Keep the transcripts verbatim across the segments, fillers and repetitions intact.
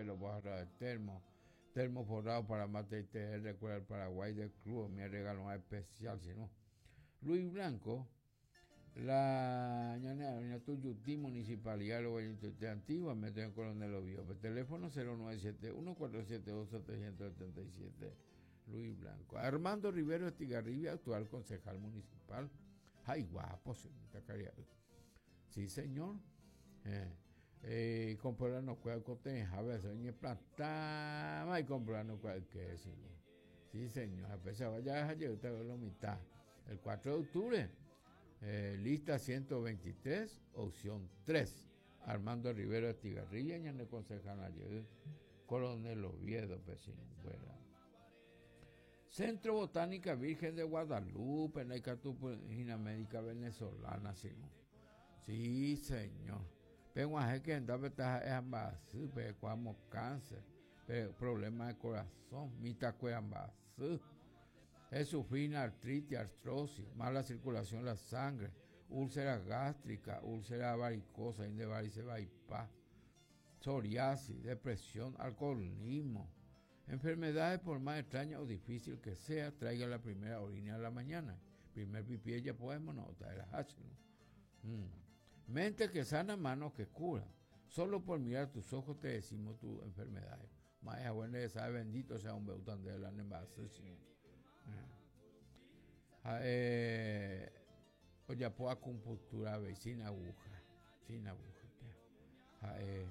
pelo, barra de termo, termo forrado para mate y té, recuerda el Paraguay del club, mi regalo especial, sino. Luis Blanco, la ñane Tuyutí, Municipalidad de Antigua, mete en Coronel Oviedo. Teléfono cero nueve siete uno, cuatro siete dos, siete siete siete, Luis Blanco. Armando Rivero Estigarribia, actual concejal municipal. Ay, guapo, señorita Caridad. Sí, señor. Eh, eh, comprar no cuida coteja, a veces ni plata, y comprar no cuida que sí. Sí, señor. A pesar de ya usted la mitad. El cuatro de octubre, eh, lista ciento veintitrés, opción tres. Armando Rivero Estigarribia, ñane concejal ayer, Coronel Oviedo, vecino, fuera. Centro Botánica Virgen de Guadalupe, en la Icatupina Médica Venezolana, sí. Sí, señor. Pero a que andaba es pero cuando cáncer, pero problemas de corazón, mitacueambasú, es sufrir artritis, artrosis, mala circulación de la sangre, úlcera gástrica, úlcera varicosa, inde varice vaipá, psoriasis, depresión, alcoholismo, enfermedades por más extraña o difícil que sea, traiga la primera orina a la mañana, primer pipí ya podemos no traer la hache, ¿no? Mm. Mente que sana, manos que cura. Solo por mirar tus ojos te decimos tus enfermedades. Más bueno sabe, bendito sea un beután de la nemasa, sí. Eh, oye, puedo acupuntura, ve, sin aguja, sin aguja. Eh,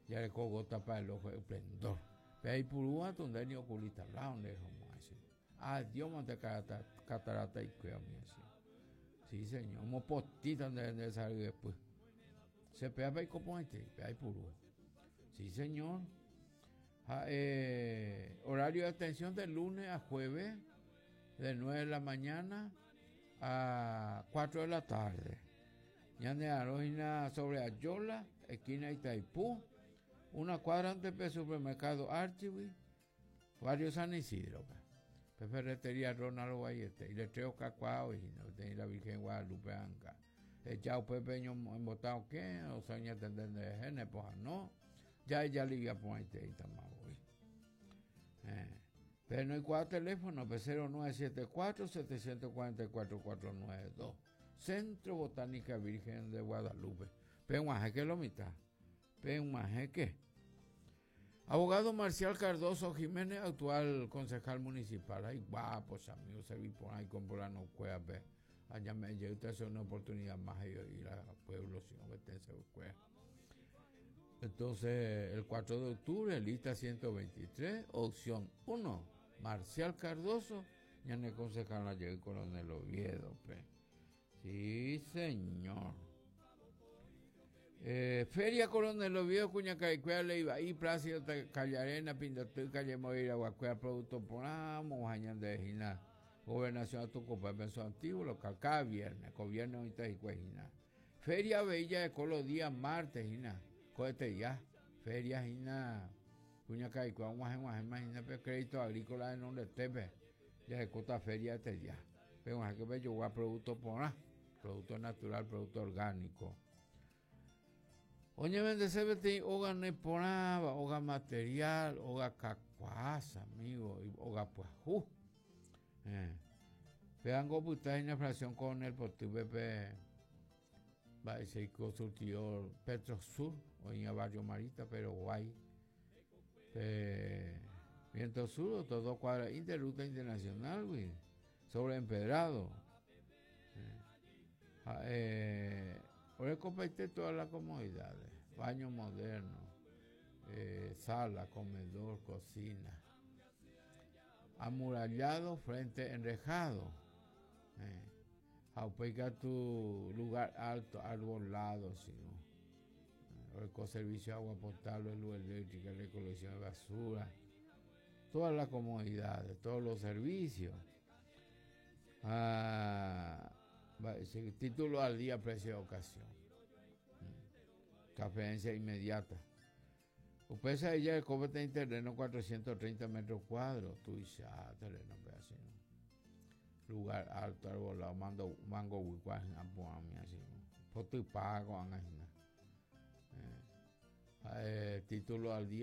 ya le cogo tapa el ojo, el esplendor. Pero hay purúa donde ni oculista, la donde es como así. Ah, Dios manda catarata y cuida mi así. Sí, señor, como postita donde debe salir después. Se pega para el componente, pega y purúa. Sí, señor. Ah, eh, horario de atención de lunes a jueves, de nueve de la mañana a cuatro de la tarde. Ñande Arojina sobre Ayola, esquina Itaipú, una cuadra antes del supermercado Archivi, barrio San Isidro. Ferretería Ronald Guayete, y le traigo cacuao y no tenía la Virgen Guadalupe Anca. Echado Pepe embotado que, o sea, ya tendrán de gene, pues no. Ya ella le iba a poner y tampoco. Eh. Pero no hay cuatro teléfonos, pues cero nueve siete cuatro, siete cuatro cuatro, cuatro nueve dos. Centro Botánica Virgen de Guadalupe. Peguajeque lo mitad. Peguajeque. Abogado Marcial Cardoso Jiménez, actual concejal municipal. Ay, guapos amigos, se vi por ahí con por no cueva, pe. Allá me llegó usted hace una oportunidad más y ir al pueblo, si no, vete se cueva. Entonces, el cuatro de octubre, lista ciento veintitrés, opción uno, Marcial Cardoso, ya en el concejal ayer, Coronel Oviedo, pe. Sí, señor. Eh, Feria Coronel Oviedo, Cuñacaicuea, Leiva, y Plácido, Callarena, Pindatú, Calle Moira, Guacuea, Producto Ponamo, Jañán de Gina, Gobernación Atucopa, Penso Antiguo, local, cada viernes, gobierno y Cuejina. Feria Bella de Colo, día martes, Gina, cógete ya, Feria Gina, Cuñacaicuea, Guaje, Guaje, Imagina, Crédito Agrícola de Nombre Tepe, ya se cota Feria este día. Pero que bello, guá, producto poná, producto natural, producto orgánico. Oye, vende C B T, oga no ponaba, oga material, oga cacuaza, amigo, y oga puajú. Eh. Vean cómo está en la fracción con el portugués, Pepe, va a ser consultor Petrosur, o en el barrio Marita, pero guay. Eh, Viento Sur, todo cuadra, interruta internacional, güey, sobre empedrado. Eh, eh, Por comparte todas las comodidades, baño moderno, eh, sala, comedor, cocina, amurallado, frente enrejado, eh, aupeica tu lugar alto, arbolado, sino, eh, con servicio de agua potable, luz eléctrica, recolección de basura, todas las comodidades, todos los servicios. Ah, va, ese título al día, precio de ocasión. Mm. Transferencia inmediata. Usted sabe ya el cobre tiene terreno cuatrocientos treinta metros cuadrados. Tú dices, ah, terreno, pero así, ¿no? Lugar alto, arbolado, mando, mango, huicuá, apuami, así, ¿no? Foto y pago, así, ¿no? Eh, eh, título al día.